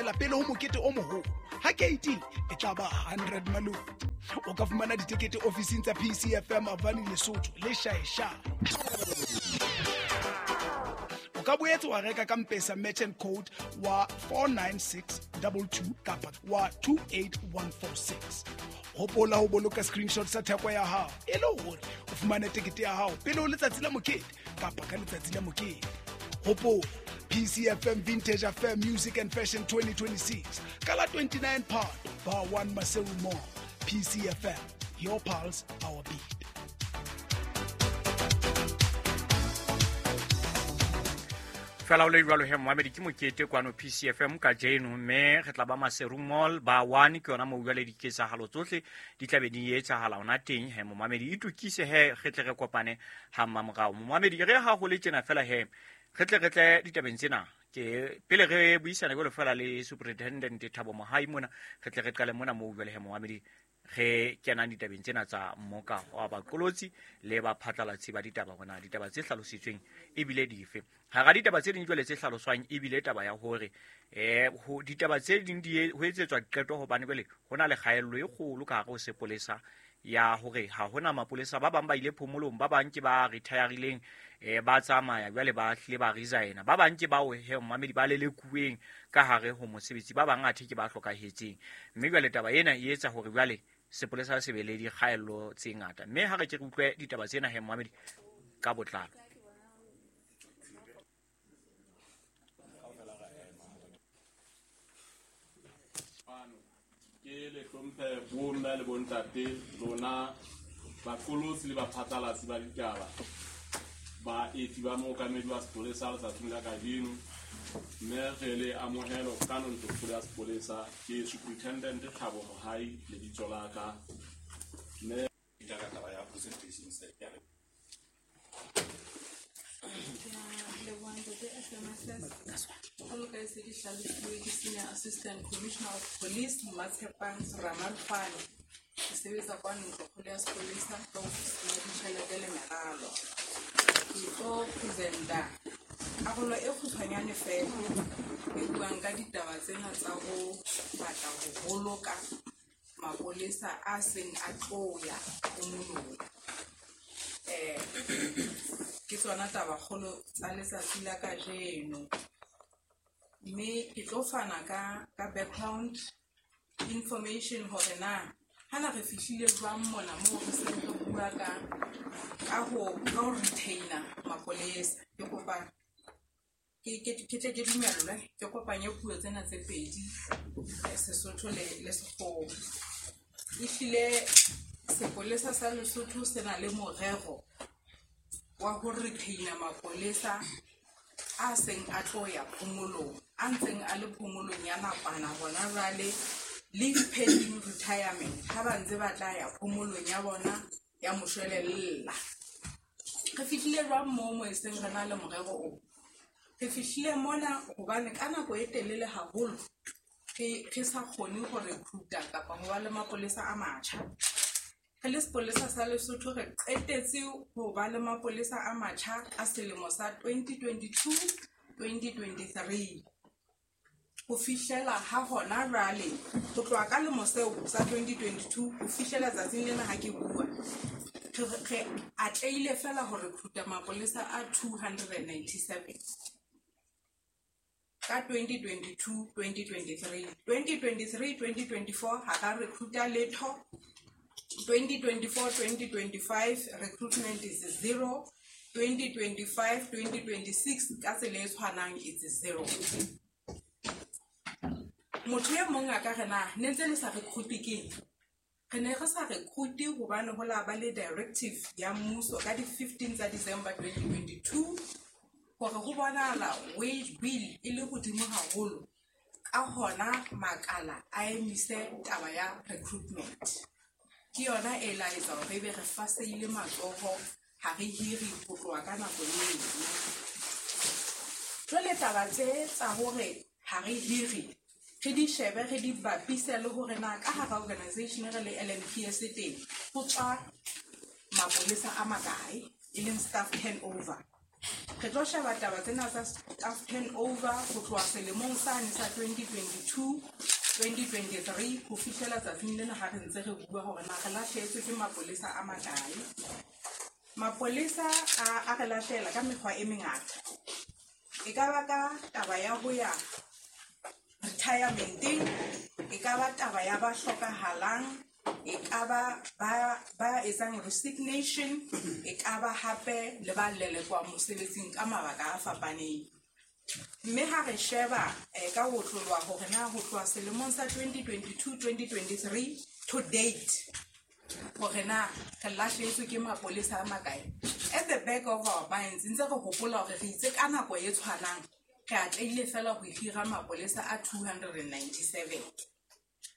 feela pele ho mokete o moholo. Ha keiting e tla ba 100 maloti. O ka fumana ditekete ofising tsa PCFM Avani Lesotho le Shaeshae. O ka boetse wa reka ka Mpesa merchant code wa 49622 kapa wa 28146. Hopola ho boloka screenshot sa theko ya hao e le hore o fumane tekete ya hao pele ho letsatsi la mokete kapa ka letsatsi la mokete. Hopola PCFM Vintage Affair Music and Fashion 2026 ka la 29 Phato, Bar 1 Maseru Mall. PCFM, your pulse, our beat. Fela o le jalo he moamedi ke mokete kwano PCFM ka jeno, mme re tla ba Maseru Mall ba 1 ke yona moo jwale diketsahalo tsohle di tla be di etsahala ona teng. He momamedi itukise he re tle re kopane ha mmamorao. Momamedi re ha ho le tjena fela he re tle re tle ditabeng tsena ke pele re buisana jwalo fela le Superintendent Thabo Mohai mona, re tle re qale mona moo jwale he momamedi re kenang ditabeng tsena tsa mmoka wa baqolotsi le baphatlalatsi ba ditaba, hona ditaba tse hlalositsweng ebile dife. Hara ditaba tse ding jwale tse hlaloswang ebile taba ya hore ho ditaba tse ding di ho etsetswa qeto hobane jwale ho na le kgaello e kgolo ka hare ho sepolesa ya hore ha hona mapolesa, ba bang ba ile phomolong, ba bang ke ba retireileng, ba tsamaya jwale ba hlile ba resigna, ba bang ke bao he mmamedi ba lelekuweng ka hare ho mosebetsi, ba bang athe ke ba hlokahetseng. Mme jwale taba ena e etsa hore jwale sepolesa se be le dikgaello tse ngata. Mme ha re ke re utlwe ditaba tsena he mmamedi ka botlalo. Ke le hlomphe bomme le bontate lona baqolotsi le baphatlalatsi ba ditaba, baeti ba mookamedi wa sepolesa letsatsing la kajeno, mme re le amohelo ka ntlokgolo ya sepolesa. Ke Superintendent Thabo Mohai lebitso la ka, mme ka taba ya presentation se ya re Senior Assistant Commissioner of Police Matshepang Ramalfane. Ke sebetsa kwano ntlokgolo ya sepolesa ka ofising ya ditjhelete le meralo. Ke tlo presenta karolo e kgutshwanyane fela e buang ka ditaba tsena tsa ho batla ho boloka mapolesa a seng a tlo ya phomolong. Ke tsona tabakgolo tsa letsatsi la kajeno. Mme ke tlo fana ka background information hore na hana re fihlile jwang mona moo re seng re bua ka ho retainer mapolesa. Ke kopa ke tle ke dumellwe ke kopanye puo tsena tse pedi, Sesotho le Sekgowa. Ehlile sepolesa sa Lesotho se na le morero wa ho retainer mapolesa a seng a tlo ya phomolong, a ntseng a le phomolong ya nakwana hona jwale, leave pending retirement, ha ba ntse ba tla ya phomolong ya bona ya moshwelella. Re fihlile jwang moo mo e seng re na le morero o? Re fihlile mona hobane ka nako e telele haholo re sa kgone ho recruita kapa ho ba le mapolesa a matjha. Re le sepolesa sa Lesotho re qetetse ho ba le mapolesa a matjha ka selemo sa 2022-2023. Ho fihlela ha hona jwale, ho tloha ka lemo seo sa 2022 ho fihlela tsatsing lena ha ke bua, re atlehile fela ho recruita mapolesa a 297 ka 2022-2023. 2023-2024 ha ka recruita letho. 2024-2025 recruitment is zero. 2025-2026 ka tsela e tshwanang it's zero. Motho e mong a ka re na ne ntse le sa recruit keng? Re ne re sa recruit hobane ho la ba le directive ya mmuso ka di 15 tsa December 2022 hore ho bonahala wage bill e le hodimo haholo, ka hona makala a emise taba ya recruitment. Ke yona e la etsa hore ebe re faseile matsoho, ha re hiri ho tloha ka nako eo. Jwale taba tse tsa hore ha re hiri, re di shebe, re di bapise le hore na ka hara organization re le LMPS teng ho tswa mapolesa a makae, e leng staff turnover. Re tlo sheba taba tsena tsa staff turnover ho tloha selemong sane sa 2022 2023 ho fihlela tsatsing lena ha re ntse re bua hore na re lahlehetswe ke mapolesa a makae. Mapolesa a re lahlela ka mekgwa e mengata. E ka ba ka taba ya ho ya retirementeng, e ka ba taba ya ba hlokahalang, e ka ba ba etsang resignation, e ka ba hape le ba lelekwang mosebetsing ka mabaka a fapaneng. Mme ha re sheba ka ho tlolwa hore na ho tloha selemong sa 2022 2023 to date hore na re lahlehetswe ke mapolesa a makae. At the back of our minds ntse re hopola hore re itse ka nako e tshwanang re atlehile fela ho hira mapolesa a 297.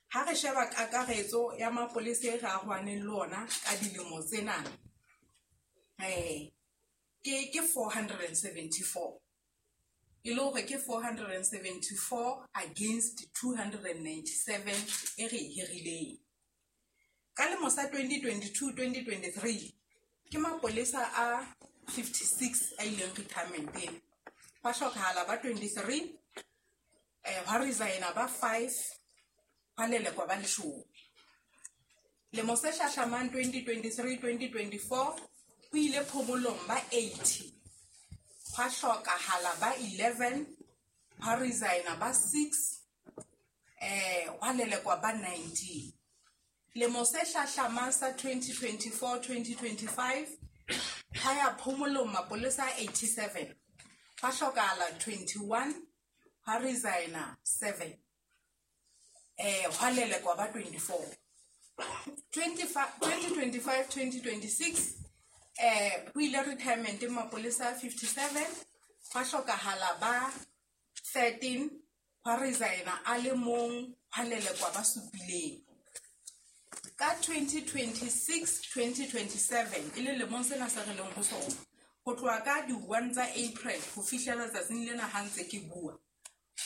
Ha re sheba kakaretso ya mapolesa e re arohaneng le ona ka dilemo tsena ke 474. E le hore ke 474 against 297 e re e hirileng. Ka lemo sa 2022 2023 ke mapolesa a 56 a ileng retirementeng. Hwa hlokahala ba 23, hwa resigna ba 5, hwa lelekwa ba 10. Lemo se hlahlamang 2023 2024 ho ile phomolong ba 80, hwa hlokahala ba 11, hwa resigna ba 6, hwa lelekwa ba 19. Lemo se hlahlamang sa 2024 2025 ha ya phomolong mapolesa a 87, hwa hlokahala 21, hwa resigna 7, hwa lelekwa ba 24. 2025 2026 ho ile retirement mapolesa a 57, hwa hlokahala ba 13, hwa resigna a le mong, hwa lelekwa ba 7. Ka 2026 2027 e le lemong sena se re leng ho sona, ho tloha ka di-1 tsa April ho fihlela tsatsing lena ha ntse ke bua,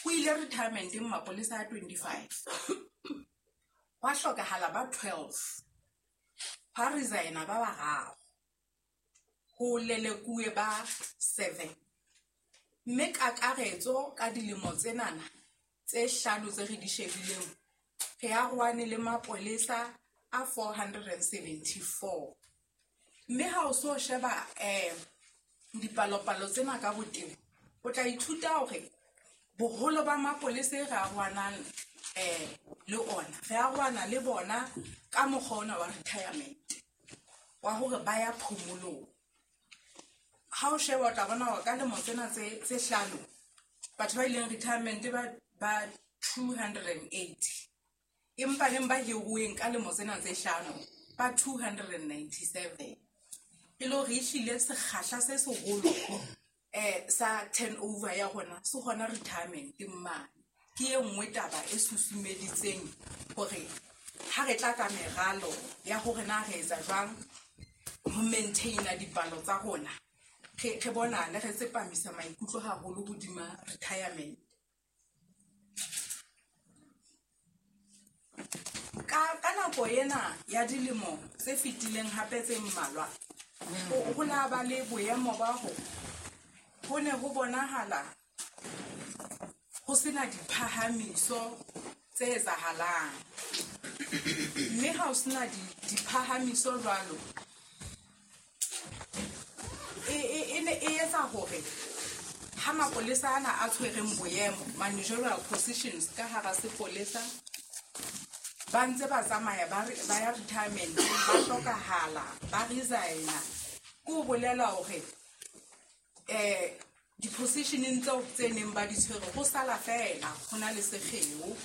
ho ile retirementeng mapolesa a 25, hwa hlokahala ba 12, hwa resigna ba 3, ho lelekuwe ba 7. Mme kakaretso ka dilemo tsenana tse hlano tse re di shebileng, re arohane le mapolesa a 474. Mme ha o so sheba dipalopalo tsena ka botebo, o tla ithuta hore boholo ba mapolesa e re arohanang le ona, re arohana le bona ka mokgwa ona wa retirement, wa hore ba ya phomolong. Ha o sheba o tla bona hore ka lemo tsena tse hlano batho ba ileng retirement ba 280, empa neng ba hiruweng ka lemo tsena tse hlano ba 297. E le hore ehlile sekgahla se seholo sa turnover ya rona se hona retirement mane. Ke e nngwe taba e susumeditseng hore ha re tla ka meralo ya hore na re etsa jwang ho maintaina dipalo tsa rona, re bonale re tsepamisa maikutlo haholo hodima retirement. Ka nako ena ya dilemo tse fetileng hape tse mmalwa, ho la ba le boemo ba ho ne ho bonahala ho sena diphahamiso tse etsahalang. Mme ha ho sena diphahamiso jwalo, e ne e etsa hore ha mapolesa ana a tshwereng boemo, managerial positions ka hara sepolesa, ba ntse ba tsamaya ba ya retirement, ba hlokahala, ba resigna. Ke ho bolela hore di-positioneng tseo tse neng ba di tshwere ho sala fela ho na le sekgeo.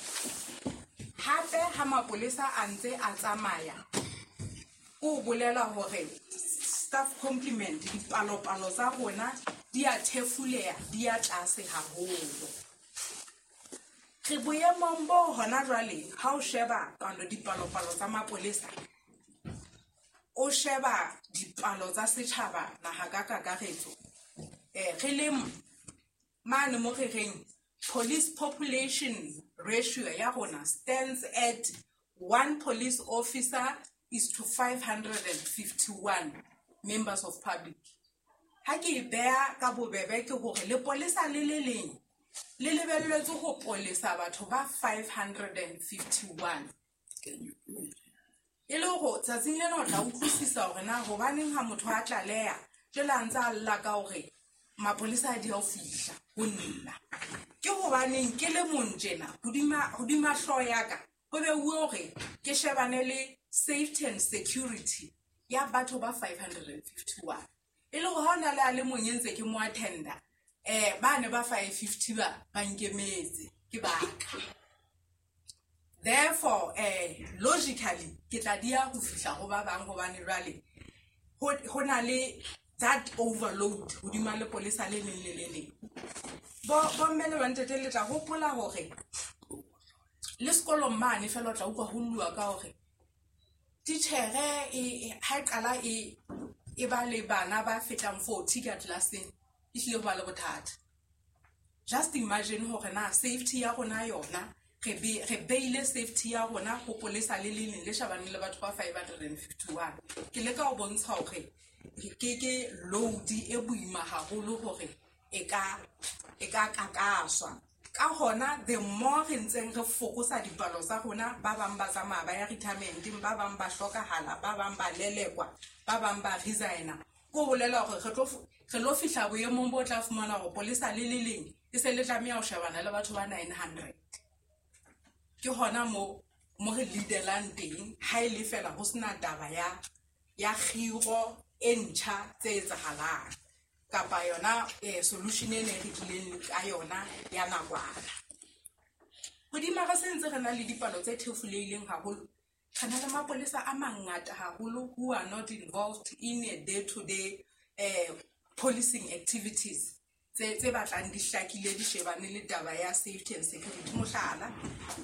Hape ha mapolesa a ntse a tsamaya, ke ho bolela hore staff complement, dipalopalo tsa rona di a thefuleha, di ya tlase haholo. Re boemong bo hona jwale ha o sheba dipalopalo tsa mapolesa, o sheba dipalo tsa setjhaba naha ka kakaretso, re le mane mo re reng police population ratio ya rona stands at 1 police officer is to 551 members of public. Ha ke e beha ka bobebe ke hore lepolesa le le leng le lebelletswe ho polesa batho ba 551. E le hore tsatsing lena o tla utlwisisa hore na hobaneng ha motho a tlaleha jwale a ntse a lla ka hore mapolesa a di ho fihla ho nna. Ke hobaneng ke le mong tjena hodima hlooho ya ka ho beuwe hore ke shebane le safety and security ya batho ba 551. E le hore ha ona le a le mong e ntse ke mo attenda, ba ne ba 550 ba nkemetse ke baka. Therefore, logically ke tla dia ho fihla ho ba bang hobane jwale ho na le that overload hodima lepolesa le leng le le leng. Bo mme le bontate le tla hopola hore le sekolong mane fela o tla utlwa ho llwa ka hore titjhere ha e qala e ba le bana ba fetang 40 ka tlelaseng, e hlile ho ba le bothata. Just imagine hore na safety ya rona yona re beile safety ya rona ho polesa le le leng le shebaneng le batho ba 551. Ke leka ho bontsha hore ke load e boima haholo hore e ka kakaswa. Ka hona the more re ntseng re fokotsa dipalo tsa rona, ba bang ba tsamaya ba ya retirement-eng, ba bang ba hlokahala, ba bang ba lelekwa, ba bang ba resigna. Ko bolela hore re lo fihla boemong bo tla fumana hore polesa le le leng e se le tlameha ho shebana le batho ba 900. Ke hona mo re leadelang teng ha e le fela ho sena taba ya kgiro e ntjha tse etsahalang kapa yona solution e ne re tlileng ka yona ya nakwana. Hodima re sentse re na le dipalo tse thefuleileng haholo, re na le mapolesa a mangata haholo who are not involved in a day-to-day policing activities tse batlang di hlakile di shebane le taba ya safety and security. Mohlala,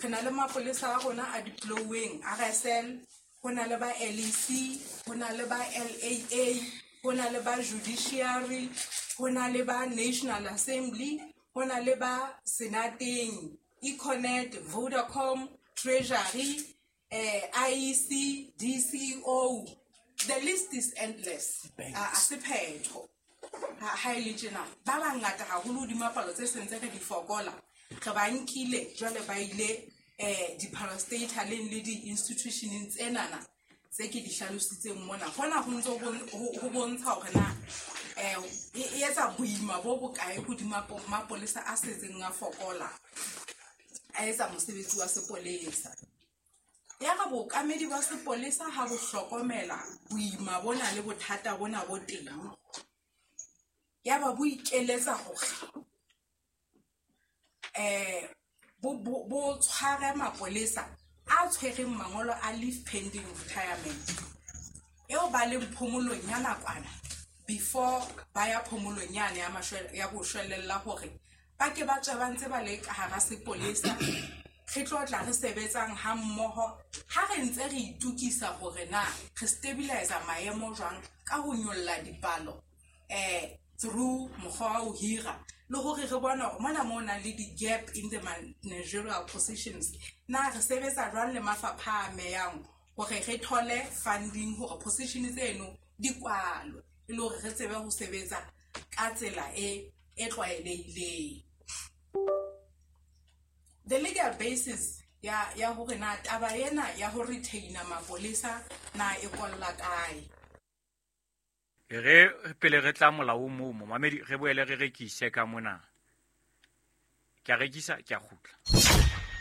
re na le mapolesa a rona a deploying RSL, ho na le ba LEC, ho na le ba LAA, ho na le ba judiciary, ho na le ba National Assembly, ho na le ba Senateng, Econet, Vodacom, Treasury, IEC, DCO. The list is endless. A sephetho. Ha e le tjena, ba bangata haholo hodima palo tse sentse re di fokola, re ba nkile jwale ba ile di-parastataleng le di-institutioneng tsenana tse ke di hlalositseng mona. Hona ho ntse ho bontsha hore na e etsa boima bo bokae hodima mapolesa a setseng a fokola, a etsa mosebetsi wa sepolesa. Ya re bookamedi ba sepolesa ha bo hlokomela boima bona le bothata bona bo teng, ya ba bo ikeletsa hore bo tshware mapolesa a tshwereng mangolo a leave pending retirement eo ba leng phomolong ya nakwana before ba ya phomolong yane ya boshwelella hore ba ke ba tswe ba ntse ba le ka hara sepolesa. Re tlo tla re sebetsang ha mmoho ha re ntse re itukisa hore na re stabilize maemo jwang ka ho nyolla dipalo through mokgwa wa ho hira, le hore re bona hore mona mo nang le di-gap in the managerial positions na re sebetsa jwang le mafapha a amehang hore re thole funding hore position tseno di kwalwe e le hore re tsebe ho sebetsa ka tsela e tlwaelehileng. The legal basis ya hore na taba ena ya ho retaina mapolesa na e kolla kae. Re pele re tla molao moo momamedi re boele re rekise ka mona. Ke a rekisa, ke a kgutla.